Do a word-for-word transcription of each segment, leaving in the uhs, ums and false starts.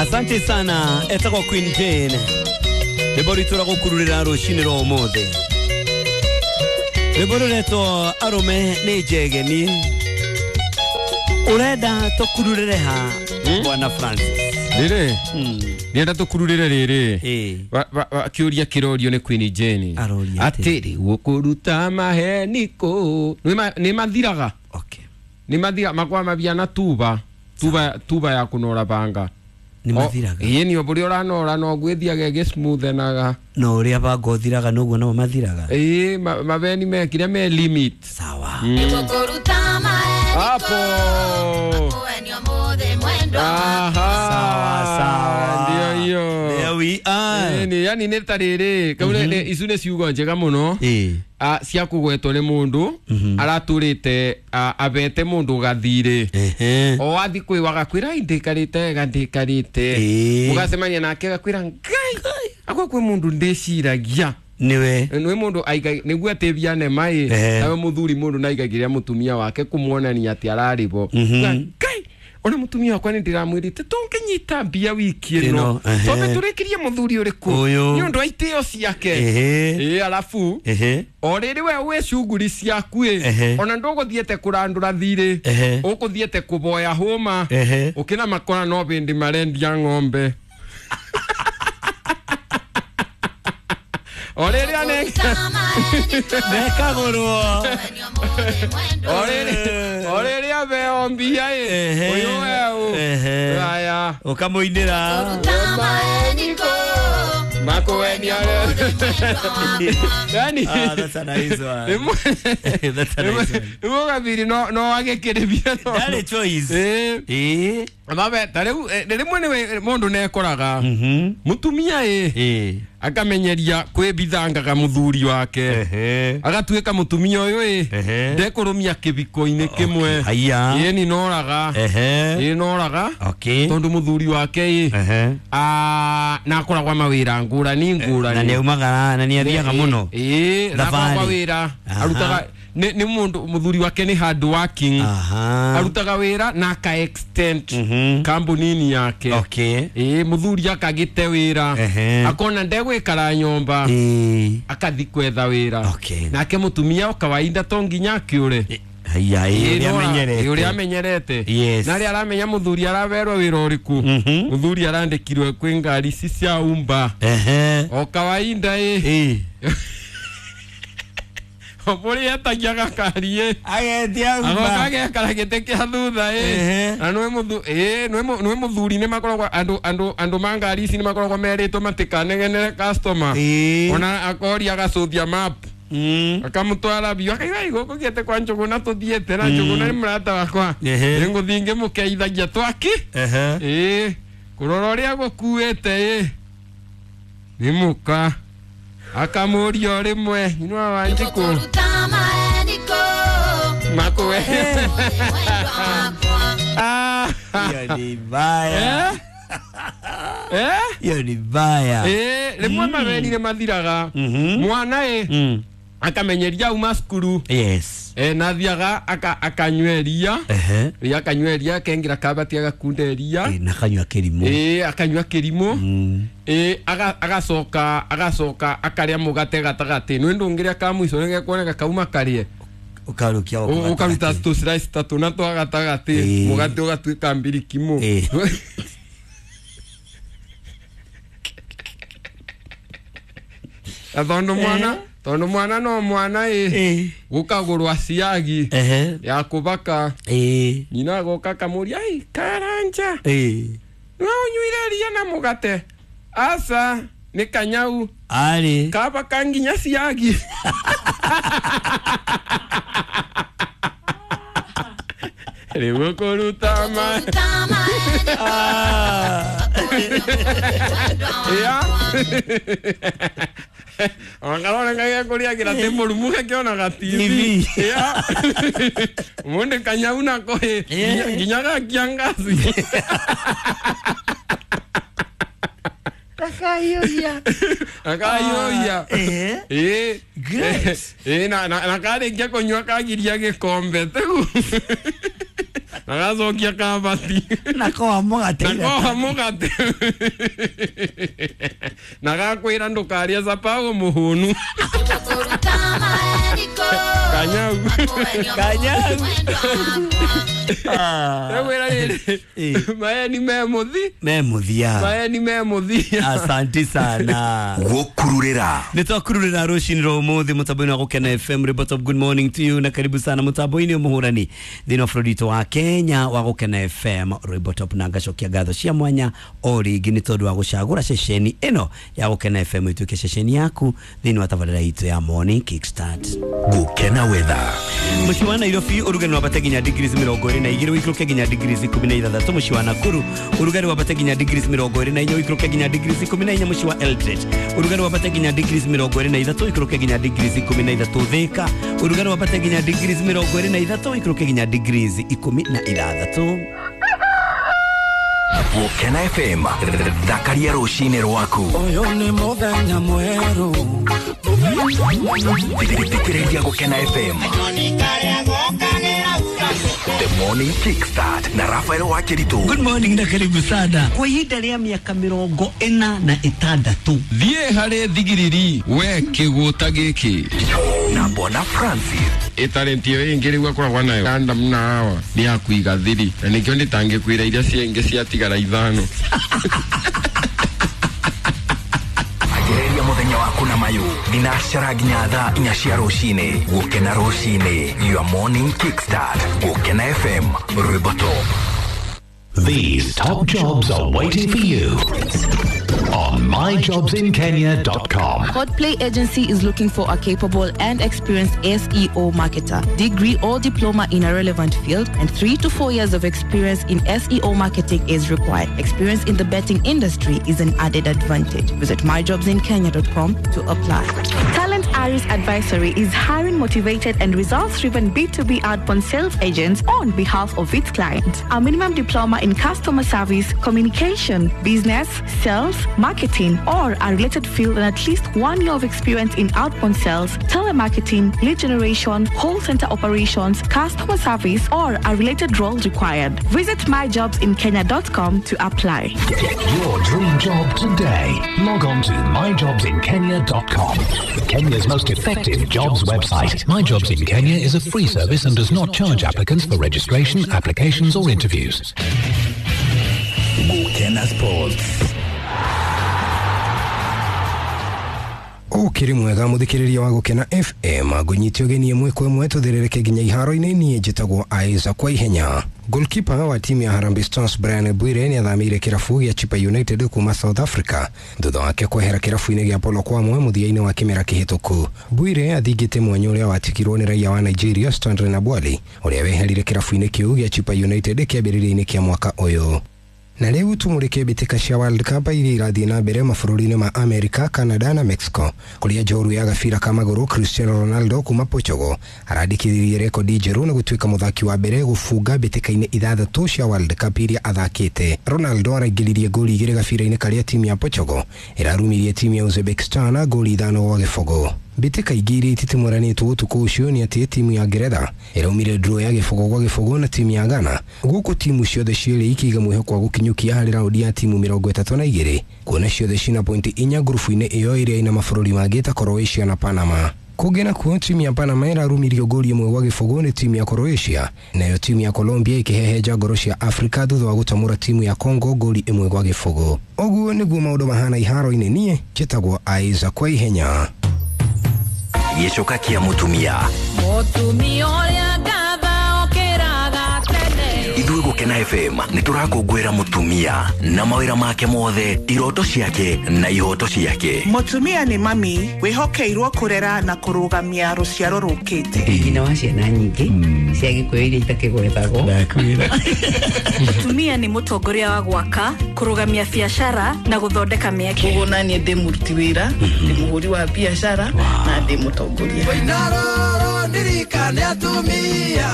Asante sana etagwo Queen Jane. Rwĩmbo rwitũ rwa gũkururĩra rũcinĩ rwa ũmũthĩ. Rwĩmbo rũretwo Arũme nĩ Njegeni. Ũrenda tũkururĩre ha Bwana Francis? Rĩrĩ ndĩrenda tũkururĩre rĩrĩ. Ĩĩ. Kĩũria kĩrorio nĩ Queen Jane. Aroria atĩ? Atĩrĩ gũkũruta maheni kũ nĩ mathiraga. Okay. Nĩ mathira makwa mabia na tuba tuba tuba ya kũnora banga. Nĩ mathiraga. Ĩĩ nĩ ũrĩa ũranora no gwĩthiaga ĩgĩsmoothenaga. No ũrĩa banga ũthiraga noguo namo mathiraga. Ĩĩ mabeni mekire me limit. Sawa. Hapo. Aha. Sawa sawa. Ndio hiyo. There we are. Ni yani nĩ ta rĩrĩ kau nĩ icu nĩ ciugo njega mũno. Ĩĩ. A cia kũgwetwo nĩ mũndũ aratũrĩte abete mũndũ gathirĩ. Ehe. O athi kwĩwa gakwĩra ndĩkarĩte wega ndĩkarĩte. Ĩĩ. Mũgacemania nake agakwĩra Ngai akwa kwĩ mũndũ ndĩciragia. Niwe. Nĩ mũndũ aiga nĩguo atĩbia nema ĩ nawe mũthuri mũndũ naigagĩrĩra mũtumia wake kũmuonania atĩ ararĩ bo. Ngai ona mutumia wakwa nĩ ndĩramwĩrĩte tũngĩnyita mbia wiki ĩno twambe tũrĩkĩrie mũthuri ũrĩkũ nĩ ũndũ wa itĩo ciake. Ĩĩ arabu o rĩrĩ we wĩ cuguri ciaku ĩ ona ndũgũthiĩte kũrandũra thirĩ ũkũthiĩte kũboya hũma ũkĩna makora no bĩndĩ marendia ng'ombe. O rĩrĩ anenge mekagũrwo. O rĩrĩ o rĩrĩ abeo mbia ĩ ũyũ weũ aya ũkamũinĩra makuenia. Yani ah, that's a nice one. That's a nice one. Nĩguo gathiri no no agĩkĩrĩbia no ndarĩ choice. Ĩĩ ĩĩ mabe ta rĩu rĩmwe nĩwe mũndũ nĩekoraga mũtumia ĩ akamenyeria kwĩbithangaga mũthuri wake agatuĩka mũtumia ũyũ ĩ ndekũrũmia kĩbiko-inĩ kĩmwe. Haiya. Ĩĩ nĩ noraga. Ĩĩ noraga tondũ mũthuri wake ĩ na akoragwo mawĩra ngũrani ngũrani na nĩaumaga na nĩathiaga mũno. Ĩĩ na akoragwo wĩra arutaga nĩ nĩ mũndũ mũthuri wake nĩ hard working arutaga wĩra na aka extend kambuni yake. Okay. Ĩĩ mũthuri akagĩte wĩra akona ndegwĩkara nyũmba akathi kwetha wĩra. Nake mũtumia o kawaida to nginya akĩũre. Haiya ĩ ũrĩa amenyerete. Ũrĩa amenyerete. Na rĩa aramenya mũthuri araberwo wĩra ũrĩkũ. Mũthuri arandĩkirwo kwĩ ngari ici cia umba. O kawaida ĩ Obori etagia gakari ĩ agetia umba agoka agekara gĩtĩ kĩa thutha ĩ na nĩwe mũthu ĩ nĩwe mũthuri nĩ makoragwo andũ andũ andũ ma ngari ici nĩ makoragwo merĩtwo matikanegenere customer ona akoria agacũthia map akamũtwara biũ akaiga ĩ gũkũ gĩte kwa Njũgũna tũthiĩte na Njũgũna nĩ mũrata wakwa nĩngũthiĩ ngĩmũkeithagia twaki ĩ kũrora ũrĩa gũkuĩte ĩ nĩ mũka akamũria o rĩmwe inua Wanjikũ makuwe. Hiyo ni mbaya. Hiyo ni mbaya. Eh, rĩmwe mabeni nĩ mathiraga mwana ĩ akamenyeria auma cukuru. Yes. Eh na thiaga aka akanyua iria. Ehe. Akanyua iria akengira kabati agakunda iria. Eh na akanyua kĩrimũ. Eh akanyua kĩrimũ. Eh aga agacoka agacoka akaria mũgate gatagatĩ. Nĩ ndũngĩrĩa ka mũico nĩgekuoneka kauma karie. Ũkarukia ũkaruta tũ slice tatu na twa gatagatĩ mũgate ũgatuĩka mbirikimo. Tondũ mwana tondũ mwana no mwana ĩ gũkagũrwa ciagi ya kũbaka nyina agoka akamũria ĩ Karanja no ũnyuire iria na mũgate aca nĩ kanyau arĩ kabaka nginya ciagi. Rĩu kũruta ma ya Angarora ngai kuria kira te mũrumu gakĩonaga T V. Ya. Mũndũ kanyau nako ĩ nginya gakia ngaci. Kakayoya. Kakayoya. Eh. Eh. Great. Eh na na karĩkia kũnyua kagiria gĩkombe tegu. Na gacokia kabati na koa mũgate na koa mũgate na gakwĩra ndũkarĩe cabaũ mũhũnu kanyau kanyau Wera rĩrĩ maeni me mũthi me mũthia maeni me mũthia asante sana gũkururĩra nĩ twakururĩra rũcinĩ rwa ũmũthĩ mũtambo-inĩ wa Gũkena F M Report of good morning to you na karibu sana mũtambo-inĩ mũhũrani thĩinĩ wa bũrũri witũ wa Kenya wa Gũkena F M Report of na ngacokia ngatho cia mwanya o rĩngĩ nĩ tondũ wa gũcagũra ceceni ĩno ya Gũkena F M ĩtuĩke ceceni yaku thĩinĩ wa tabarĩra itũ ya Morning Kickstart. Gũkena weather mũciĩ wa Nairobi ũrugarĩ wambate nginya degrees mĩrongo ĩrĩ na igĩrĩ ũikũrũke nginya degrees ikũmi na ithathatũ mũciĩ wa Nakuru ũrugarĩ wambate nginya degrees mĩrongo ĩrĩ na inya ũikũrũke nginya degrees ikũmi na inya mũciĩ wa Eldoret ũrugarĩ wambate nginya degrees mĩrongo ĩrĩ na ithatũ ũikũrũke nginya degrees ikũmi na ithatũ Thika ũrugarĩ wambate nginya degrees mĩrongo ĩrĩ na ithatũ ũikũrũke nginya degrees ikũmi na ithathatũ. Gũkena F M thakaria rũcinĩ rwaku ũyũ nĩ mũthenya mwerũ thikĩrĩria Gũkena F M The Morning Kickstart na Rafael Wakiritu. Good morning na karibu sana kwa ihinda rĩa mĩaka mĩrongo ĩna na ĩtandatũ thiĩ harĩ thigiriri we kĩgũta gĩkĩ na Bwana Francis ĩtalenti ĩyo ĩngĩ rĩu akoragwo nayo Adam na Hawa nĩ ya kũiga thiri na nĩkĩo ndĩtangĩkwĩra iria ciengĩ ciatigara ithano. Anjĩrĩria mũthenya waku na mayu thinacara nginya thaa inya cia rũcinĩ. Gũkena rũcinĩ, your morning kickstart. Gũkena F M rwĩmbo top. These top jobs are waiting for you on my jobs in kenya dot com. Hotplay Agency is looking for a capable and experienced S E O marketer, degree or diploma in a relevant field, and three to four years of experience in S E O marketing is required. Experience in the betting industry is an added advantage. Visit my jobs in kenya dot com to apply. Talent Aris Advisory is hiring motivated and results-driven B two B outbound sales agents on behalf of its clients. A minimum diploma in customer service, communication, business, sales, marketing, or a related field, and at least one year of experience in outbound sales, telemarketing, lead generation, call center operations, customer service, or a related role required. Visit my jobs in kenya dot com to apply. Get your dream job today. Log on to my jobs in kenya dot com. Kenya's most effective jobs website. My Jobs in Kenya is a free service and does not charge applicants for registration, applications, or interviews. Gũkena Sports. Ukiri mwega muthikiriria wa Gũkena F M ngũnyitio ũgeni ĩmwe kwa ĩmwe tũthĩrĩrĩke nginya iharo-inĩ niĩ njĩtagwo Isaac kwa ihenya. Goalkeeper wa timu ya Harambee Stars Brian Bwire nĩ athamĩire kĩrabu gĩa Chippa United kuma South Africa thutha wake kwehera kĩrabu-inĩ gĩa Polokwane mũthia-inĩ wa kĩmera kĩhĩtũku. Bwire athingĩte mwanya ũrĩa watigirwo nĩ raia wa Nigeria Stanley Nabwali ũrĩa weherire kĩrabu-inĩ kĩu gĩa Chippa United kĩambĩrĩria-inĩ kĩa mwaka ũyũ. Na rĩu tumũrĩke mbĩtĩka cia World Cup iria irathiĩ na mbere mabũrũri-inĩ ma America, Canada na Mexico kũrĩa njoru ya gabira ka magũrũ Cristiano Ronaldo kuma Portugal arandĩkithirie rekodi njerũ na gũtuĩka mũthaki wa mbere gũbunga mbĩtĩka-inĩ ithathatũ cia World Cup iria athakĩte. Ronaldo araingĩririe ngoli igĩrĩ gabira-inĩ karĩa timu ya Portugal ĩrarumirie timu ya Uzbekistan ngoli ithano gwa gĩbũgũ. Mbĩtĩka ingĩ iria ititimũranĩtwo ũtukũ ũcio nĩ atĩ timu ya Ngeretha ĩraumire draw ya gĩbũgũ gwa gĩbũgũ na timu ya Ghana gũkũ timu ciothe cierĩ ikĩiga mwĩhoko wa gũkinyũkia harĩ raundi ya timu mĩrongo ĩtatũ na igĩrĩ kuona ciothe cina pointi inya ngurubu-inĩ ĩyo ĩrĩa ĩna mabũrũri mangĩ ta Croatia na Panama. Kũngĩ nakuo timu ya Panama ĩrarumirio ngoli ĩmwe gwa gĩbũgũ nĩ timu ya Croatia nayo timu ya Colombia ĩkĩhehenja ngoro cia Afrika thutha wa gũtamũra timu ya Congo ngoli ĩmwe gwa gĩbũgũ. Ũguo nĩguo maũndũ mahana iharo-inĩ niĩ njĩtagwo Isaac kwa ihenya. Gĩcoka kĩa mũtumia mũtumia ũrĩa ngatha okĩraga tene. Ithuĩ Gũkena F M nĩ tũrakũngũĩra mũtumia na mawĩra make mothe, iroto ciake na ihoto ciake. Mũtumia nĩ mami wĩhokeirwo kũrera na kũrũgamia rũciaro rũkĩte. Nyina wa ciana nyingĩ cia Gĩkũyũ iria itakĩgwetagwo. Mũtumia nĩ mũtongoria wa gwaka, kũrũgamia biacara na gũthondeka mĩeke. Koguo naniĩ ndĩ mũruti wĩra, ndĩ mũhũri wa biacara na ndĩ mũtongoria. Ndirikane atumia.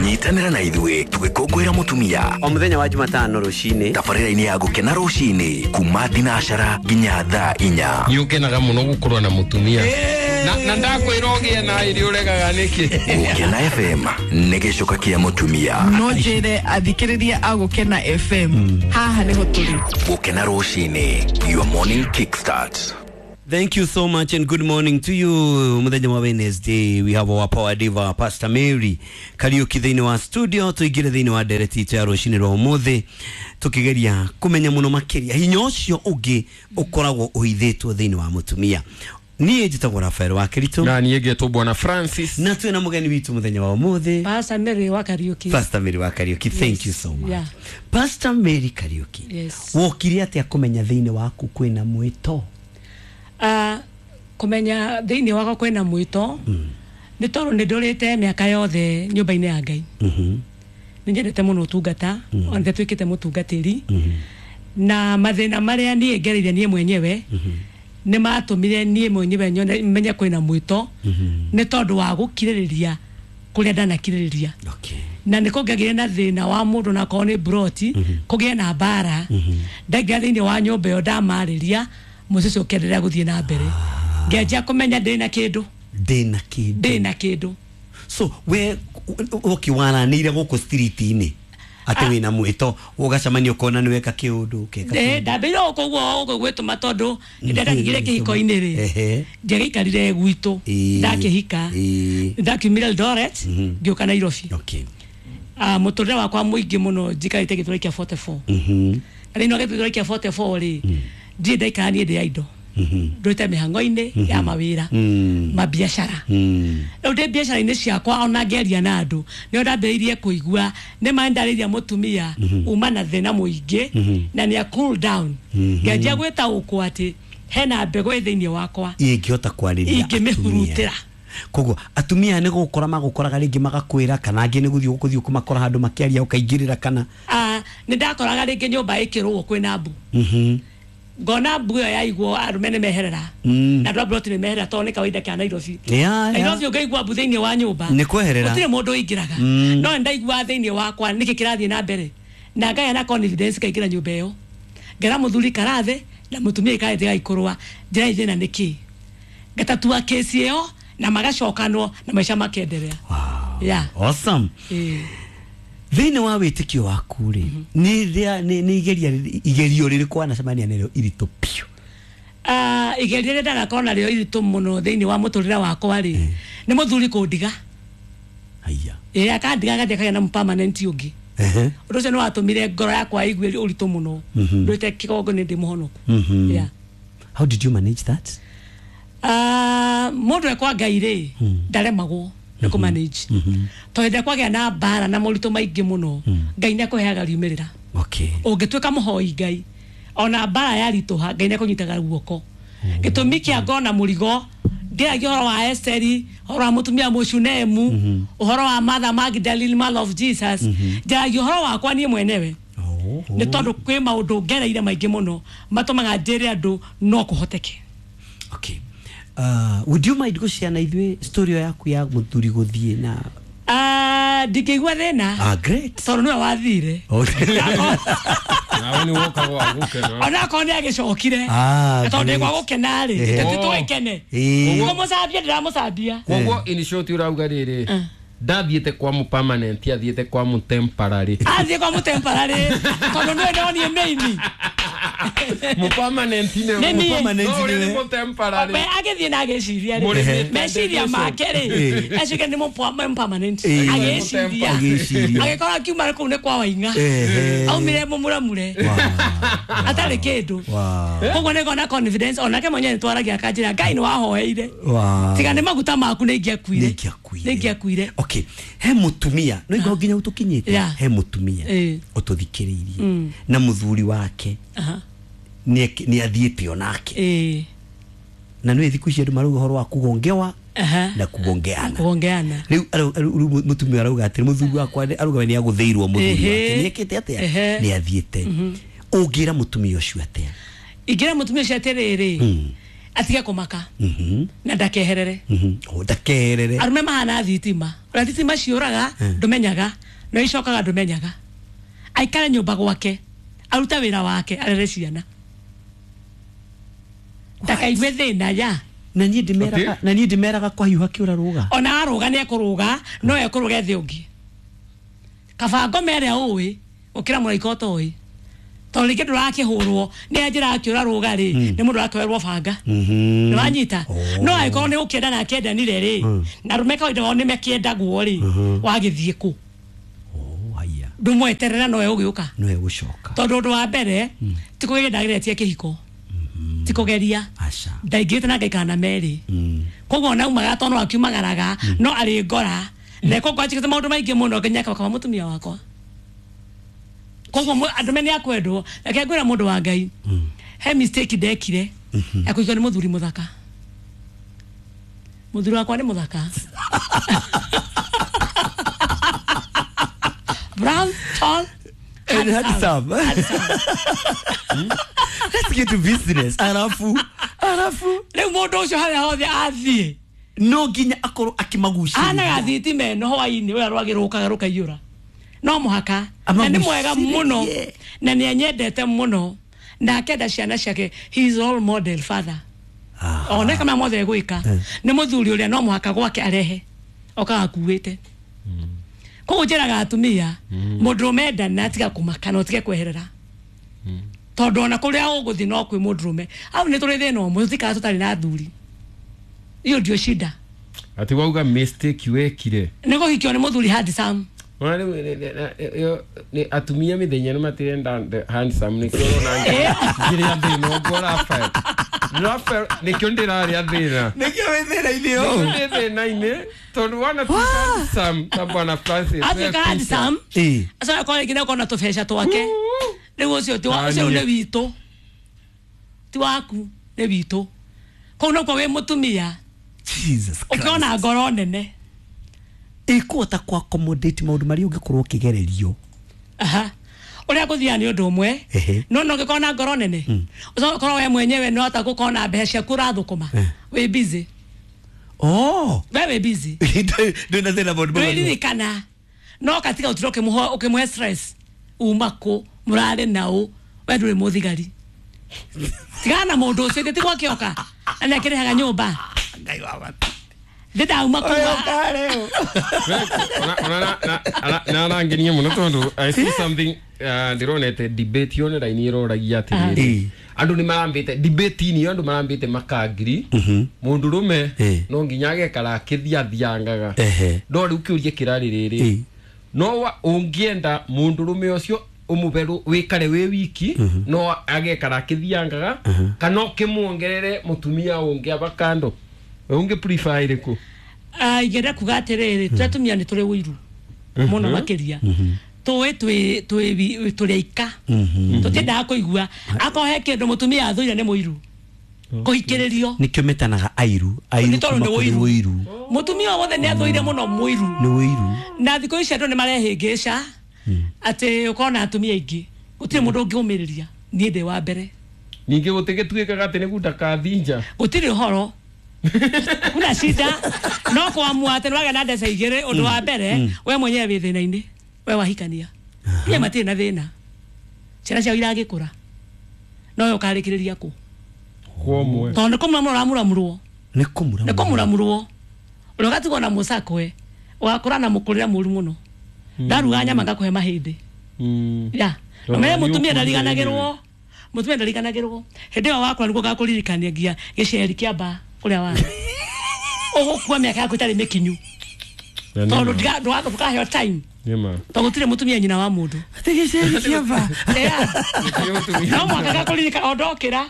Nyitanĩra na ithuĩ tũgĩkũngũĩra mũtumia o mũthenya wa Jumatano rũcinĩ tabarĩra-inĩ ya Gũkena rũcinĩ kuma thinacara nginya thaa inya. Nĩ ũkenaga mũno gũkorwo na mũtumia na na ndakwĩra ũgĩe na ĩrĩ ũregaga nĩkĩ. Gũkena F M nĩ gĩcoka kĩa mũtumia. No njĩre athikĩrĩria a Gũkena F M haha nĩho tũrĩ. Gũkena rũcinĩ, your morning kickstart. Thank you so much and good morning to you. Muthenya wa Wednesday we have our power diva Pastor Mary Kariuki thĩinĩ wa studio. Tuingire thĩinĩ wa ndereti itũ ya rũcinĩ rwa ũmũthĩ tukigeria kumenya mũno makĩria hinya ũcio ũngĩ ũkoragwo ũhithĩtwo thĩinĩ wa mũtumia. Niĩ njĩtagwo Rafael wa Keritu na niĩ ngetwo Bwana Francis na twĩna mũgeni witũ mũthenya wa ũmũthĩ Pastor Mary wa Kariuki. Pastor Mary wa Kariuki, thank yes. you so much. Yeah. Pastor Mary Kariuki, yes. wokire atĩa kũmenya thĩinĩ waku kwĩna mwĩto? Uh, kumenya thĩinĩ wakwa kwĩna mwĩto mm. nĩ tondũ nĩ ndũrĩte mĩaka yothe nyũmba-inĩ ya Ngai. mm-hmm. Nĩ nyendete mũno ũtungata mm. ona nĩtuĩkĩte mũtungatĩri mm-hmm. na mathĩna marĩa niĩ ngereire niĩ mwenyewe mm-hmm. nĩ matũmire niĩ mwenyewe nyone menye kwĩna mwĩto mm-hmm. nĩ tondũ wa gũkirĩrĩria kũrĩa ndanakirĩrĩria. Okay. Na nĩ kũngĩagĩire na thĩna wa mũndũ na akorwo nĩ broti mm-hmm. kũgĩe na mbara mm-hmm. ndaingĩra thĩinĩ wa nyũmba ĩyo ndamarĩria mũciĩ ũkĩenderea gũthiĩ na mbere ngĩanjia kũmenya ndĩna kĩndũ ndĩna kĩndũ ndĩna kĩndũ. So we ũkĩwaranĩire gũkũ street-inĩ atĩ wĩna mwĩto ũgacemania ũkona nĩ weka kĩũndũ ũkeka kĩũndũ? Ndambĩire gũkũ ũguo gũkũ gwĩtũma tondũ nĩndakĩingĩre kĩhiko-inĩ rĩ ndiagĩikarire gwitũ ndakĩhika ndakiumire Eldoret ngĩũka Nairobi. Okay. Ah, mũtũrĩre wakwa mũingĩ mũno njikarĩte gĩtũra kĩa forty-four. Na thĩinĩ wa gĩtũra kĩa forty-four rĩ ndirĩ ndaikara niĩ ndĩ ya indo ndũrĩte mĩhang'o-inĩ ya mawĩra mabiacara. Rĩu ndĩ biacara-inĩ ciakwa ona ngĩaria na andũ nĩo ndambĩrĩirie kũigua nĩ ma ndarĩria mũtumia uma na thĩna mũingĩ na nĩ a cool down ngĩanjia gwĩtaũkwo atĩ hena mbegũ ĩ thĩinĩ wakwa ingĩhota kwarĩria ingĩmĩhurutĩra. Koguo atumia nĩ gũkora magũkoraga rĩngĩ magakwĩra kana angĩ nĩ gũthiĩ gũthiĩ kũmakora handũ makĩaria ũkaingĩrĩra kana ah nĩ ndakoraga rĩngĩ nyũmba ĩkĩrũo kwĩna mbu ngona mbu ĩyo yaigwo arũme nĩ meherera na andũ a broti nĩ meherera tondũ nĩ kawaida kĩa Nairobi. Nairobi ũngĩigua mbu thĩinĩ wa nyũmba nĩ kweherera gũtirĩ mũndũ ũingĩraga. No nĩ ndaigua thĩinĩ wakwa nĩkĩ kĩrathiĩ na mbere na ngagĩa na confidence ngaingĩra nyũmba ĩyo ngera mũthuri karathe na mũtumia ikarĩte gaikũrũa njĩra thĩna nĩkĩ ngatatua kesi ĩyo na magacokanwo na maica makenderea. Yeah. Awesome. Thĩinĩ wa wĩtĩkio waku rĩ nĩ nĩ igeria igerio rĩrĩkũ wanacemania narĩo iritũ biũ? Ah, igerio rĩrĩa ndanakorwo narĩo iritũ mũno thĩinĩ wa mũtũrĩre wakwa rĩ nĩ mũthuri kũndiga. Haiya. Ĩĩ akandiga agathiĩ akagĩa na permanent ũngĩ. Ũndũ ũcio nĩ watũmire ngoro yakwa ĩigue ũritũ mũno ndũĩte kĩgongo nĩ ndĩ mũhonoku. Yeah. How did you manage that? Ah, mũndũ ekwa Ngai rĩ ndaremagwo nĩ kũ manage tondũ hĩndĩ ĩrĩa kwagĩa na mbara na moritũ maingĩ mũno Ngai nĩ akũheaga riumĩrĩra. Okay. Ũngĩtuĩka mũhoi Ngai ona mbara yaritũha Ngai nĩ akũnyitaga guoko. Gĩtũmi kĩa ngona mũrigo ndĩragia ũhoro wa Esteri, ũhoro wa mũtumia Mũshunemu, ũhoro wa Mother Magdalene, Mother of Jesus, ndĩragia ũhoro wakwa niĩ mwenyewe nĩ tondũ kwĩ maũndũ ngereire maingĩ mũno matũmaga njĩre andũ no kũhoteke. Okay. Uh, would you mind gũshare na ithuĩ story yaku ya mũthuri gũthiĩ na Ah, ndingĩigua thĩna. Ah, great. Tondũ nĩwe wathire. Nawe nĩ woka gwa gũkena. Ona akorwo nĩ agĩcokire. Tondũ ndĩ gwa gũkena rĩ, tũthiĩ tũgĩkene. Koguo mũcambia ndĩramũcambia. Koguo in short ũrauga rĩrĩ ndathiĩte kwa mu permanent athiĩte kwa mu temporary. Athiĩ kwa mu temporary tondũ nĩwe ndonire mĩini. Mu permanent ne mu permanent ne mu temporary. Be agĩthiĩ na agĩciria rĩ meciria make rĩ acuke nĩ mu permanent agĩciria agĩkorwo akiuma kũu nĩ kwa Waing'a aumire mũmuramure atarĩ kĩndũ. Koguo nĩ ngona confidence onake mwenyewe nĩ twaragia akanjĩra Ngai nĩ wahoeire tiga nĩ maguta maku nĩ ingĩakuire nĩ ingĩakuire. Okay, he mutumia no igwa nginya utukinyite he mutumia ututhikiriirie na muthuri wake ni ni athiite onake eh na nä thiku ici andå marauga horo wa kugongewa na kugongeana kugongeana riu riu mutumia arauga atä muthuri wakwa arauga nä agåthä muthuri wake nä ekä te atä nä athiä te å ngä ra mutumia å cio atä ingä ra mutumia å cio atä rä rä Atige kũmaka na ndakeherere. O ndakeherere. Arũme mahana thitima. Ũrĩa thitima ciũraga ndũmenyaga, no icokaga ndũmenyaga. Aikare nyũmba gwake, arute wĩra wake, arere ciana. Ndakaigue thĩna ya. Na niĩ ndĩmeraga, na niĩ ndĩmeraga kwahiũha kĩũra rũga. Ona arũga nĩ ekũrũga, no ekũrũga thĩ ũngĩ. Kaba ngome ĩrĩa ũĩ, gũkĩra mũraika ũtoĩ. Tondũ rĩngĩ ndũrakĩhũrwo nĩ njĩra akĩũra rũga rĩ, nĩ mũndũ ũrakĩoerwo banga. Nĩ wanyita? No angĩkorwo nĩ gũkĩenda na akĩendanire rĩ, na arũme kawaida wao nĩ mekĩendagwo rĩ, wagĩthiĩ kũ? Ndũmweterera nowe ũgĩũka. Nowe gũcoka. Tondũ ũndũ wa mbere, ti kũgeria ndageretie kĩhiko. Ti kũgeria. Ndaingĩrĩte na ngaikara na merĩ. Koguo ona aumaga tondũ no akiumagaraga, no arĩ ngora. Na koguo anjĩkĩte maũndũ maingĩ mũno nginya akaba mũtumia wakwa. Koguo andũ me nĩ akwendwo, reke ngwĩra mũndũ wa Ngai. He mistake ndekire ya kũhikio nĩ mũthuri mũthaka. Mũthuri wakwa nĩ mũthaka. Brown, tall, and handsome. Let's get to business. Arafu, arafu. Rĩu mũndũ ũcio harĩa hothe athiĩ no nginya akorwo akĩmagucĩrĩria. Anaga thitima ĩno hwainĩ ũrĩa rwagĩ rũkaga rũkaiyũra. No mũhaka. Na nĩ mwega mũno na nĩ anyendete mũno na akenda ciana ciake. He is role model father. Ona kama mothe gwĩka nĩ mũthuri ũrĩa no mũhaka gwake arehe okaga akuĩte. Koguo njĩraga atumia mũndũrũme endana atiga kũmaka na ũtige kweherera. Tondũ ona kũrĩa ũgũthiĩ no kwĩ mũndũrũme. Hau nĩ tũrĩ thĩna ũmwe, tũtikara tũtarĩ na athuri. Iyo ndio shida. Ati wauga mistake wekire. Nĩ kũhikio nĩ mũthuri handsome. Ona rĩu nĩ atumia mĩthenya nĩ matirenda handsome nĩkĩo ũrona ngĩrĩa thĩna ũguo Raphael. Raphael nĩkĩo ndĩrarĩa thĩna. Nĩkĩo wĩ thĩna-inĩ ũũ. Nĩkĩo ndĩ thĩna-inĩ tondũ wana tuĩka handsome ta bwana Francis. Atuĩka handsome. Acoka akorwo rĩngĩ nĩakorwo na tũbeca twake. Rĩu ũcio ti wa ũcio nĩ witũ. Ti waku nĩ witũ. Kũu nokuo wĩ mũtumia. Jesus Christ. Ũkĩona ngoro nene. Ĩkũhota kũ accommodate maũndũ marĩa ũngĩkorwo ũkĩgererio. Aha. Ũrĩa ngũthiaga nĩ ũndũ ũmwe, no no ũngĩkorwo na ngoro nene, ũcoke ũkorwo we mwenyewe no hota gũkorwo na mbeca ciaku ũrathũkũma, wĩ busy. Oh. We wĩ busy. Ndũrĩ na thĩna maũndũ mau. Ndũririkana. No ũgatiga ũtira ũkĩmũhe stress. Uma kũ, mũrarĩ naũ, we ndũrĩ mũthigari. Tigana na mũndũ ũcio, gĩtĩ gwakĩoka, na nĩakĩrĩhaga nyũmba. Ngai wa mata. Ndĩrauma kuma. Na arangenia mũno tondũ I see something ndĩronete debate online ĩroragia atĩrĩrĩ. Andũ nĩ marambĩte debate-inĩ ĩyo andũ marambĩte makangiri mũndũrũme no nginya agekara akĩthiathiangaga. No rĩu kĩũria kĩrarĩ rĩrĩ, no ũngĩenda mũndũrũme ũcio ũmũbe wĩkare wĩ wiki no agekara akĩthiangaga kana ũkĩmuongerere mũtumia ũngĩ aba kando? Ũngĩ prefer ĩrĩkũ? Ah, ingĩenda kuga atĩrĩrĩ, tũrĩa atumia nĩ tũrĩ ũiru mũno makĩria. Tũĩ twĩ twĩ tũrĩ aika. Tũtiendaga kũigua akorwo he kĩndũ mũtumia athũire nĩ mũiru. Kũhikĩrĩrio. Nĩkĩo metanaga airu, airu kuma kũrĩ ũiru. Mũtumia wothe nĩ athũire mũno mũiru. Nĩ ũiru. Na thikũ ici andũ nĩ marehĩngĩca atĩ ũkorwo na atumia aingĩ. Gũtirĩ mũndũ ũngĩũmĩrĩria. Niĩ ndĩ wa mbere. Ningĩ gũtigĩtuĩkaga atĩ nĩ gundakathinja. Gũtirĩ ũhoro. Kuna shida no kuamua atĩ nĩwagĩa na mbeca igĩrĩ ũndũ wa mbere we mwenyewe wĩ thĩna-inĩ we wahikania. Inya matirĩ na thĩna. Ciana ciao iragĩkũra. No we ũkarĩkĩrĩria kũ? Kwa Tondũ nĩ kũmuramũra ũramuramũrwo. Nĩ kũmuramũrwo. Nĩ kũmuramũrwo. Ũrĩa ũgatigwo na mũcakwe, ũgakũra na mũkũrĩre mũru mũno. Ndaruga nyama ngakũhe mahĩndĩ. Ya. Ũmenye mũtumia ndariganagĩrwo. Mũtumia ndariganagĩrwo. Hĩndĩ ĩyo wakũra nĩguo ngakũririkania nginya gĩceri kĩa mbaa kũrĩa warĩ. Ũgũkua mĩaka yaku ĩtarĩ mĩkinyu. Tondũ ndũkaheo time. Tondũ gũtirĩ mũtumia nyina wa mũndũ. Atĩ gĩceri kĩa mbaa. No mũhaka ngakũririkana o ndokĩra.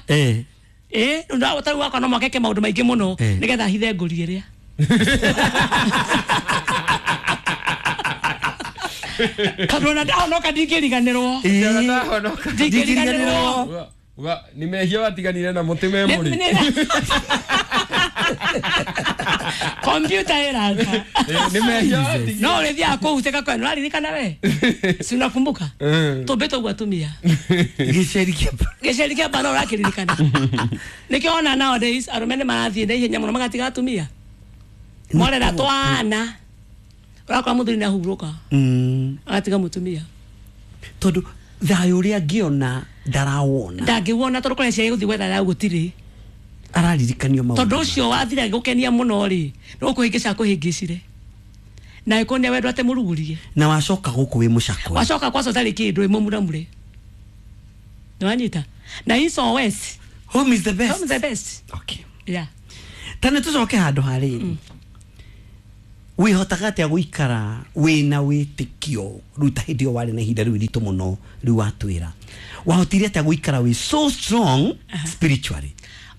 Ĩ, tarĩu wakwa no mũhaka eke maũndũ maingĩ mũno nĩgetha ahithe ngũri ĩrĩa. Tondũ ona ndahonoka ndingĩriganĩrwo. Ndingĩriganĩrwo. Ni mehia watiganire na mũtĩ me mũrĩ. Kompyuta ĩraka. Nĩ mehia. No ũrĩthiaga kũu teka kwa nĩũraririkana we? Si unakumbuka? Tũmbĩtwo ũguo atumia. Gĩceri kĩa Gĩceri kĩa bana ũrakĩririkana. Nĩkĩo ona nowadays arũme nĩ marathiĩ na ihenya mũno magatiga atumia. Morera twana. Ũrakora mũthuri nĩ ahurũka. Agatiga mũtumia. Tondũ thayũ ũrĩa angĩona ndarawona. Ndangĩwona tondũ kũrĩa ciaĩ gũthiĩ gwetha thayũ gũtirĩ. Araririkanio maũndũ. Tondũ ũcio wathire gũkenia mũno rĩ, nĩ gũkũhĩngĩca akũhĩngĩcire. Na ĩkuonia wendo atĩ mũrugurie. Na wacoka gũkũ wĩ mũcakwe. Wacoka kwaca ũtarĩ kĩndũ wĩ mũmuramure. Nĩwanyita? Na East or West? Home is the best. Home is the best. Okay. Yeah. Ta nĩ tũcoke handũ harĩ. Wĩhotaga atĩa gũikara wĩna wĩtĩkio rĩu ta hĩndĩ ĩyo warĩ na ihinda rĩu iritũ mũno rĩu watwĩra. Wahotire atĩa gũikara wĩ so strong spiritually?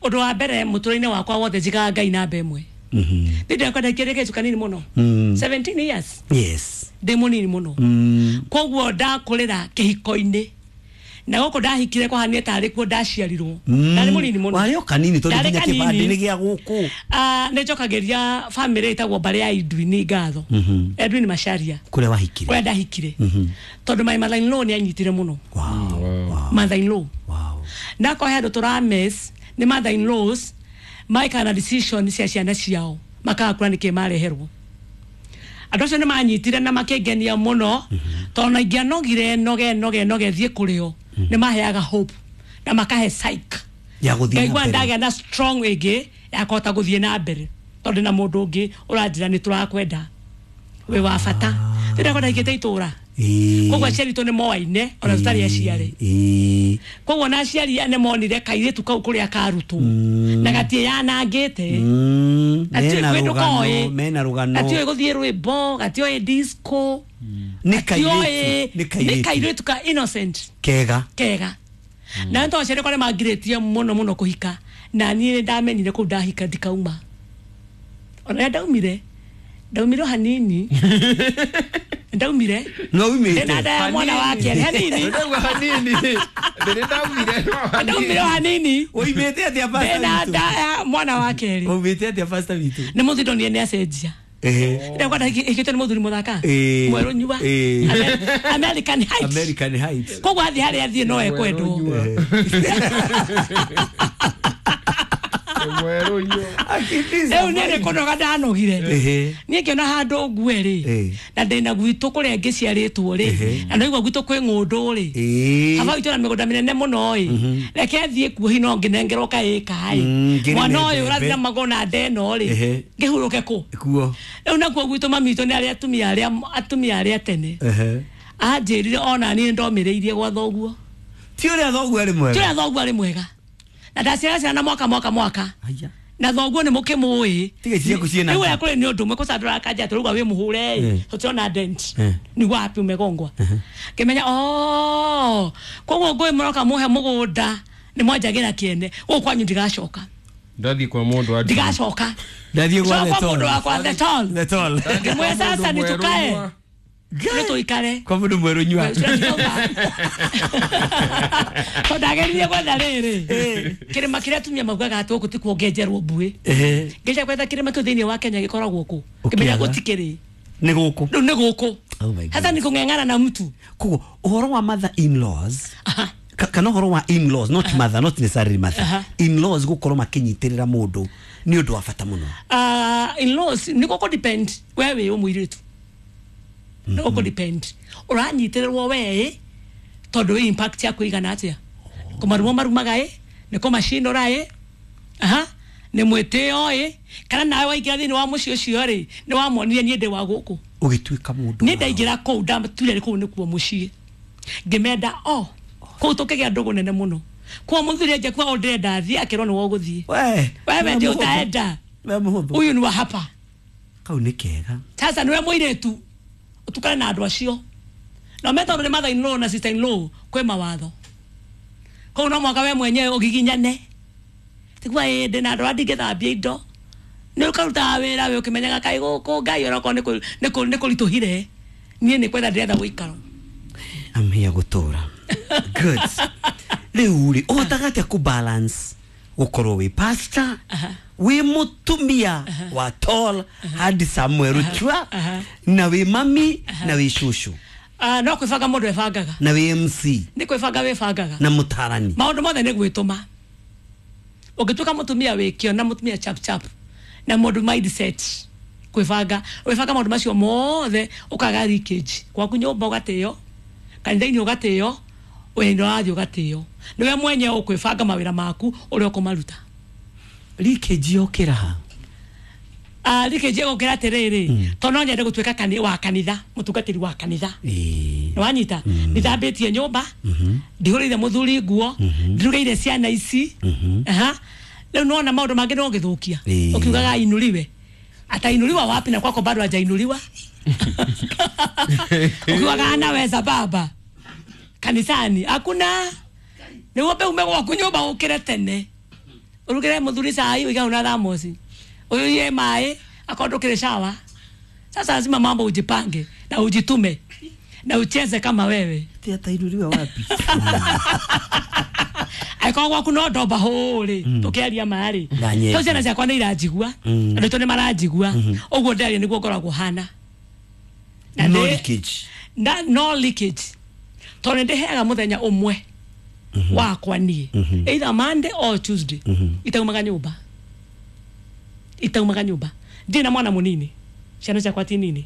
Ũndũ wa mbere mũtũrĩre-inĩ wakwa wothe njigaga Ngai namba ĩmwe. Ndĩ ndakwa ndakĩrĩkĩte kanini mũno. seventeen years. Yes. Ndĩ mũnini mũno. Koguo ndakũrĩra kĩhiko-inĩ. Na gũkũ ndahikire kwahanire tarĩ kuo ndaciarirwo. Ndarĩ mũnini mũno. Warĩ o kanini tondũ Ndarĩ nginya kĩbandĩ kanini. nĩ gĩa gũkũ. Ah, nĩ njokagĩria family ĩtagwo mbarĩ ya Edwin ngatho. Edwin Macharia. Kũrĩa wahikire. Kũrĩa ndahikire. Tondũ my mother in law nĩ anyitire mũno. Wow. Mother in law. Wow. Ndakwa he andũ tũrames nĩ mother in laws maikaga na decision cia ciana ciao makaga kũra nĩkĩ mareherwo. Andũ acio nĩ manyitire na makĩngenia mũno tondũ na ingĩanogire noge noge noge thiĩ kũrĩ o nĩ maheaga hope na makahe psych Ya gũthiĩ na ngaigua mbere. ndagĩa na strong ĩngĩ ya kũhota gũthiĩ na mbere tondũ na mũndũ ũngĩ ũranjĩra nĩ tũrakwenda wĩ wa bata. Ndĩrakwa ndahikĩte itũra koguo aciari itũ nĩ moaine ona tũtarĩ aciari. Koguo na aciari nĩ monire kairĩtu kau kũrĩa karutwo na gatiĩyanangĩte. Mena Gatiũĩ rũgano, mena rũgano. Gatiũĩ gũthiĩ rwĩmbo, gatiũĩ disco. Nĩ gatiũĩ kairĩtu, nĩ nĩ kairĩtu. kairĩtu ka innocent Kega. kega. Na nĩ tondũ aciari akwa nĩ mangirĩtie mũno mũno kũhika na niĩ nĩ ndamenyire kũu ndahika ndikauma. Ona rĩrĩa ndaumire ndaumire o hanini ndaumire No umĩte. ndĩna nda ya mwana wa kerĩ hanini Ndauga hanini. Ndĩrĩ ndaumire no hanini. ndaumire o hanini Ũimĩte atĩa pastor ndĩna witũ? nda ya mwana wa kerĩ Ũimĩte atĩa pastor witũ? nĩ mũthuri ndonire nĩ acenjia. Ehe. Ndakwa ndahikĩte nĩ mũthuri mũthaka Ĩĩ. mwerũ nyua Ĩĩ. Amer- American Heights. American Heights. Koguo athiĩ harĩa athiĩ no ekwendwo. Mwerũ nyua. Rĩu niĩ nĩ kũnoga ndanogire. Ehe. Niĩ ngĩona handũ ngue rĩ Ĩĩ. na ndĩna gwitũ kũrĩa ngĩciarĩtwo rĩ Ehe. na ndaigua gwitũ kwĩ ng'ũndũ rĩ Ĩĩ. baba witũ na mĩgũnda mĩnene mũno ĩ reke thiĩ kuo hi no ngĩnengerwo kaĩka ĩ Mm, ngĩrĩme mwana ũyũ mbembe. ũrathiĩ na magũrũ na nda ĩno rĩ Ehe. ngĩhurũke kũ Kuo. rĩu nakuo gwitũ mami witũ nĩ arĩa atumia arĩa atumia arĩa tene Ehe. anjĩrire ona niĩ ndomĩrĩirie gwa thoguo. Ti ũrĩa thoguo arĩ mwega. Ti ũrĩa thoguo arĩ mwega na ndaciara ciana mwaka mwaka mwaka Aya. na thoguo nĩ mũkĩmũĩ. Tiga ici ciaku ciĩna Rĩu nda. ũrĩa kũrĩ nĩ ũndũ ũmwe kũcandũra kanja tũrauga wĩ mũhũre ĩ Eh. tũtirona dent Eh. nĩ wapi umegongwa ngĩmenya oh koguo ngũĩ mũroka mũhe mũgũnda nĩ mwanjagĩra kĩene gũkũ kwanyu ndigacoka. Ndathiĩ kwa mũndũ wa Ndigacoka. Ndathiĩ gwa Coka The kwa Tall. mũndũ wakwa The Tall. The Tall. Ngĩmwĩra sasa nĩ tukae nĩ tũikare Kwa mũndũ mwerũ nyua. Tondũ ndageririe gwetha rĩrĩ kĩrĩma kĩrĩa atumia maugaga atĩ gũkũ ti kuongenjerwo mbuĩ. Ehe. Ngĩgeria gwetha kĩrĩma kĩu thĩinĩ wa Kenya gĩkoragwo kũ ngĩmenya Ũkĩaga. gũtikĩrĩ Nĩ gũkũ. rĩu nĩ gũkũ. Oh my God. Hata nĩ kũng'eng'ana na mtu. Koguo ũhoro wa mother in laws kana ũhoro wa in laws not mother not necessarily mother Aha. in laws gũkorwo makĩnyitĩrĩra mũndũ nĩ ũndũ wa bata mũno. Uh, in laws nĩ gũkũ depend we wĩ mũirĩtu nĩ gũkũ depend ũranyitĩrĩrwo we tondũ wĩ impact yaku ĩigana atĩa kũmarumo marumaga ĩ nĩ kũmacinũra ĩ aha nĩ mwĩtĩo ĩ kana nawe waingĩra thĩinĩ wa mũciĩ ũcio rĩ nĩ wamonire niĩ ndĩ wa gũkũ Ũgĩtuĩka mũndũ. niĩ ndaingĩra kũu ndaturire kũu nĩkuo mũciĩ ngĩmenda o kũu tũkĩgĩa ndũgũ nene mũno kwa mũthuri anja kwa ũndĩrenda thiĩ akĩrwo nĩ wogũthiĩ We. wewe ndio utaenda We mũhũthũ. huyu ni wa hapa Kau nĩ kega. sasa niwe mũirĩtu ũtukane na andũ acio na me tondũ nĩ mother in law na sister in law kwĩ mawatho kũu no mwaka we mwenyewe ũgiginyane tigua ĩ ndĩ na andũ arĩa ndingĩthambia indo nĩ ũkarutaga wĩra wĩ ũkĩmenyaga kaĩ gũkũ Ngai onokorwo nĩ kũ- nĩ kũ- nĩ kũritũhire niĩ nĩ kwetha ndĩretha ũikaro. I'm here gũtũra. Good. Rĩu rĩ ũhotaga atĩa kũ balance Gukorwo wi pastor, wi mutumia wa tall handsome Ruchwa, na wi mami na wi shushu. Ah, no kwibanga mundu ebangaga. Na wi M C. Ni kwibanga wibangaga. Na mutarani. Maundu mothe ni gwituma. Ungituika mutumia wikio na mutumia chap chap na mundu mindset kwibanga, wibanga maundu macio mothe ukaga leakage. Gwaku nyumba ugatio, kanitha-ini ugatio, wĩra wathi ugatio. Niwe mwenye ukwibanga mawira maku uria ukumaruta. Leakage yokira ha? Ah, leakage yokira atiriri, to no nyende gutuika kani wa kanitha, mutungatiri wa kanitha. Eh. Ni wanyita? Nithambitie nyumba, ndihurire muthuri nguo, ndirugeire ciana ici. Aha. Riu nona maundu mangi no githukia. Ukiugaga inuriwe. Atainuliwa wapi na kwako bado hajainuliwa? Ukiugaga anaweza baba. Kanisani hakuna. Ni wobe ume gwaku nyumba ukire tene. Urugire muthuri cai uiga una thamosi. Uyuie mai akondukire shawa. Sasa lazima mambo ujipange na ujitume na ucheze kama wewe. Ti atainuliwa wapi? Aiko gwaku no ndomba huri tukiaria mari. To ciana ciakwa ni iranjigua. Andu to ni maranjigua. Uguo ndaria niguo ngoragwo hana. No leakage. Na no leakage. Tondu ndiheaga muthenya umwe wakwa nie. Either Monday or Tuesday. Itaumaga nyumba. Itaumaga nyumba. Ndina mwana munini. Ciana ciakwa ti nini.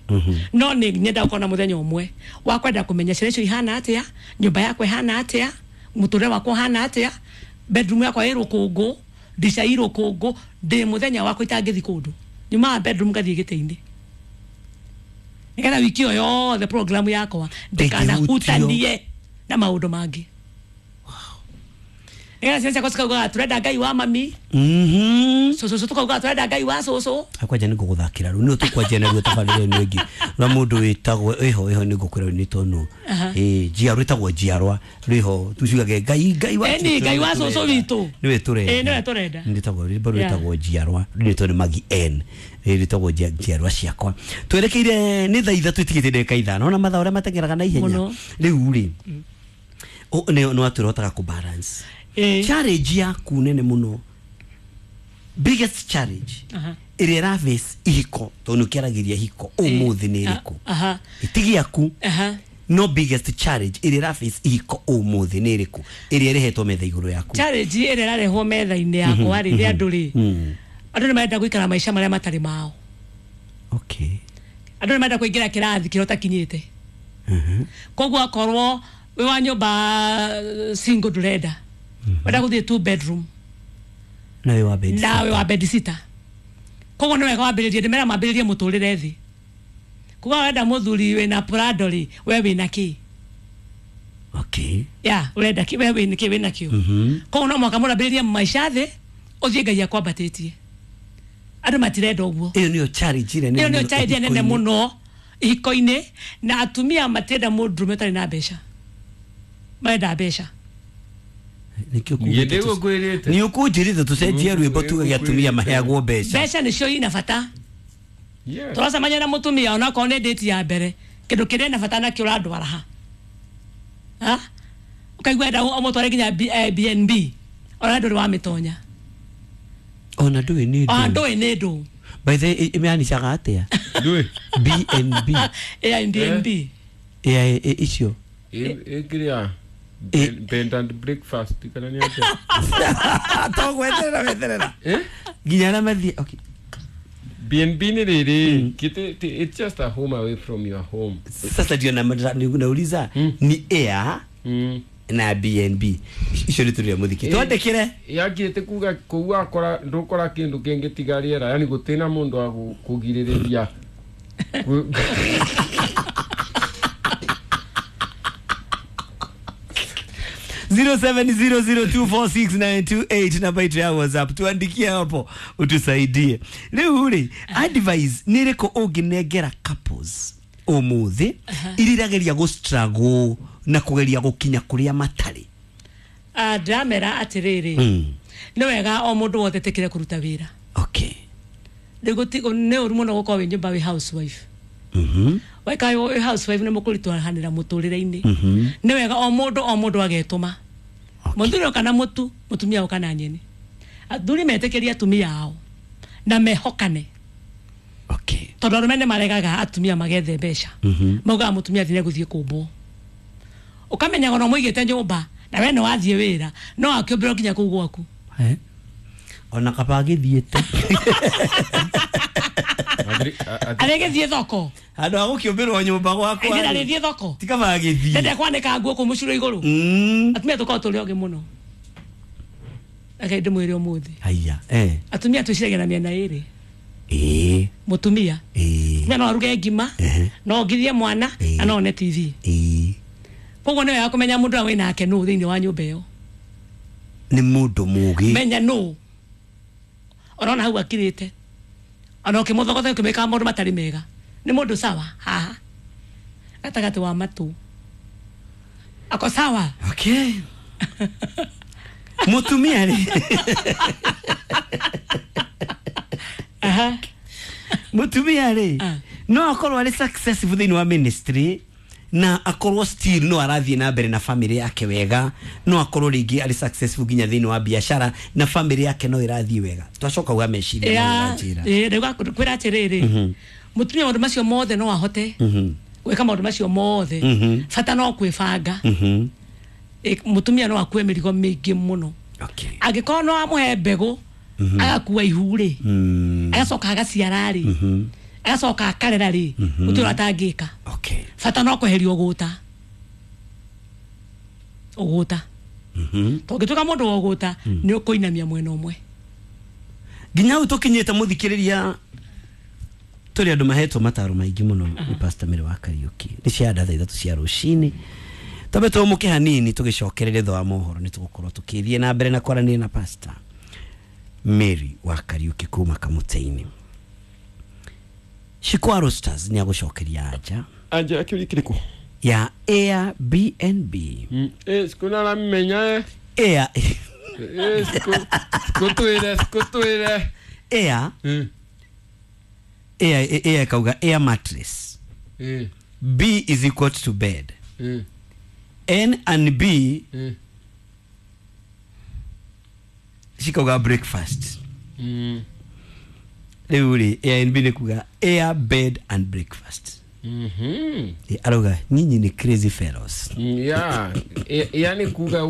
No ni nyenda gukona muthenya umwe wa kwenda kumenya ciana icio ihana atia, nyumba yakwa ihana atia, muturire wakwa uhana atia, bedroom yakwa ĩ rũkũngũ, ndica i rũkũngũ, ndi muthenya wakwa itangĩthi kũndũ. Nyumaga bedroom ngathie gĩtĩ-inĩ. Nĩgetha wiki ĩyo yothe program yakwa ndikanahutanie na maũndũ mangĩ. Nĩgetha ciana ciakwa cikaugaga turenda Ngai wa mami. Mhm. Cũcũ tukaugaga turenda Ngai wa cũcũ. Akwanja nĩ ngũgũthakĩra rĩu nĩ tũkwanjia naruo tabarĩra ĩno ĩngĩ. Na mũndũ wĩtagwo ĩho ĩho nĩ ngũkwĩra nĩ tondũ ĩ njiarwa ĩtagwo njiarwa rĩho tuciugage Ngai Ngai wa Ĩni Ngai wa cũcũ witũ. Nĩwe tũrenda. Ĩ nĩwe tũrenda. Nĩtagwo rwĩmbo rwĩtagwo njiarwa rwĩtwo nĩ Magi N. Rwĩtagwo njiarwa ciakwa. Twerekeire nĩ thaa ithatũ itigĩte ndagĩka ithano ona mathaa ũrĩa mateng'eraga na ihenya. Rĩu rĩ nĩ watwĩra kũ balance. Challenge yaku nene muno, biggest challenge ĩrĩa ĩraface ihiko tondũ nĩũkĩaragĩria ihiko ũmũthĩ nĩ ĩrĩkũ? Ĩtigi yaku no biggest challenge ĩrĩa ĩraface ihiko ũmũthĩ nĩ ĩrĩkũ ĩrĩa ĩrehetwo metha igũrũ yaku? Challenge ĩrĩa ĩrarehwo metha-inĩ yakwa rĩ nĩ andũ rĩ, andũ nĩ marenda gũikara maica marĩa matarĩ mao. Okay. Andũ nĩ marenda kũingĩra kĩrathi kĩrĩa ũtakinyĩte. Koguo akorwo wĩ wa nyũmba single ndũrenda, wenda gũthiĩ two bedroom na wĩ wa bed na wĩ wa bed sitter. Koguo nĩ wega wambĩrĩrie, ndĩmera mambĩrĩrie mũtũrĩre thĩ. Koguo wenda mũthuri wĩna Prado rĩ, we wĩna kĩ? Okay. Ya, ũrenda kĩ? We wĩna kĩ wĩna kĩo? Koguo no mũhaka mũrambĩrĩrie maica thĩ, ũthiĩ Ngai akwambatĩtie. Andũ matirenda ũguo. Ĩyo nĩyo challenge ĩrĩa nene. Ĩyo nĩyo challenge nene mũno ihiko-inĩ, na atumia matirenda mũndũrũme ũtarĩ na mbeca. Marenda mbeca. Nĩ ũkũnjĩrĩte tũcenjie rwĩmbo tugage atumia maheagwo mbeca. Mbeca nĩcio ina bata. Tũracemania na mũtumia onakorwo nĩ date ya mbere, kĩndũ kĩrĩa ena bata nakĩo ũrandwara ha? Ha? Ũkaigua enda ũmũtware nginya B N B ona ndũrĩ wamĩtonya. Ona ndũĩ nĩ ndũ. Ona ndũĩ nĩ ndũ. By the way, ĩmĩanicaga atĩa? Ndũĩ. B N B. A B N B. Ĩ icio. Ĩ kĩrĩa bed and breakfast kana nĩ atĩa? Togweterera weterera. Nginya arĩa mathiĩ. Okay. B N B nĩ rĩrĩ, it's just a home away from your home. Sasa ndio nauliza ni air na B N B icio nĩ tũrĩa mũthiki twandĩkĩre yakĩte kuga kũu wakora ndũkora kĩndũ kĩngĩ tiga rĩera, yani gũtirĩ mũndũ wa kũgirĩrĩria. zero seven zero zero two four six nine two eight namba yetu ya WhatsApp, tuandikie hapo utusaidie. Rĩu rĩ, advice nĩ ĩrĩkũ ũngĩnengera couples ũmũthĩ iria irageria gũ struggle na kũgeria gũkinya kũrĩa matarĩ? Ah, ndĩramera atĩrĩrĩ, nĩ wega o mũndũ wothe etĩkĩre kũruta wĩra. Okay. Rĩu nĩ ũru mũno gũkorwo wĩ nyũmba wĩ housewife. Mhm. Waikara wĩ housewife nĩ mũkũritũhanĩra mũtũrĩre-inĩ. Nĩ wega o mũndũ o mũndũ agetũma. Mũthuri kana mũtu, mũtumia kana nyeni. Athuri metĩkĩrie atumia ao na mehokane. Okay. Tondũ arũme nĩ maregaga atumia magethe mbeca. Maugaga mũtumia athiĩ gũthiĩ kũmbwo. Ũkamenya ona mũigĩte nyũmba na we nĩ wathiĩ wĩra no akĩũmbĩrwo nginya kũu gwaku. Eh. Ona kaba agĩthiĩte. Arĩgĩthiĩ thoko. Handũ ha gũkĩũmbĩrwo nyũmba gwakwa. Ĩĩ arĩthiĩ thoko. Ti kaba agĩthiĩ. Ndende kwanĩka nguo kũu mũcuro igũrũ. Atumia tũkoragwo tũrĩ ogĩ mũno. Reke ndĩmwĩre ũmũthĩ. Haiya. Eh. Atumia twĩciragia na mĩena ĩrĩ. Ĩĩ. Mũtumia. Ĩĩ. Mũtumia no aruge ngima, no ongithie mwana na no one T V. Ĩĩ. Koguo nĩ wega kũmenya mũndũ ũrĩa wĩnake nũ thĩinĩ wa nyũmba ĩyo. Nĩ mũndũ mũgĩ. Menya nũ. Ũrona hau akirĩte. Ona ũkĩmũthogotha ũkĩmwĩkaga maũndũ matarĩ mega. Nĩ mũndũ sawa haha. Gatagatĩ wa matũ. Ako sawa. Okay. Mũtumia rĩ. Aha. Mũtumia rĩ. No akorwo arĩ successful thĩinĩ wa ministry na akorwo still no arathiĩ na mbere na family yake wega, no akorwo rĩngĩ arĩ successful nginya thĩinĩ wa biashara na family yake no ĩrathiĩ wega. Twacoka uga meciria na njĩra. Ĩĩ ndauga kwĩra atĩrĩrĩ. Mũtumia maũndũ macio mothe no ahote. Gwĩka maũndũ macio mothe. Bata no kwĩbanga. Mũtumia no akue mĩrigo mĩingĩ mũno. Okay. Angĩkorwo no amũhe mbegũ agakua ihu rĩ, agacoka agaciara rĩ, agacoka akarera rĩ, mũtumia atangĩka. Okay. Bata no kweheria ũgũta. Ũgũta. Tũngĩtuĩka mũndũ wa ũgũta nĩ ũkũinamia mwena ũmwe. Nginya hau tũkinyĩte mũthikĩrĩria tũrĩ andũ mahetwo mataro maingĩ mũno nĩ Pastor Mary wa Kariuki. Nĩ cia thaa ithatũ cia rũcinĩ. Twambe tũmũke hanini tũgĩcokereria thutha wa mohoro nĩ tũgũkorwo tũkĩthiĩ na mbere na kwaranĩria na Pastor Mary wa Kariuki kuma Kamũtĩ-inĩ. Shikwaro Roasters nĩ agũcokeria anja. Anja akĩũria kĩrĩkũ? Ya Airbnb. Eh, sikuna la menya eh. Air. Eh, siku sikutwire sikutwire. Air. Mm. Air air kauga air mattress. Mm. B is equal to bed. Mm. N and B mm. Shikauga breakfast. Mm. Rĩu rĩ A and B nĩ kuga air bed and breakfast. Mhm. Arauga nyinyi ni crazy fellows. Yeah. Yani kuga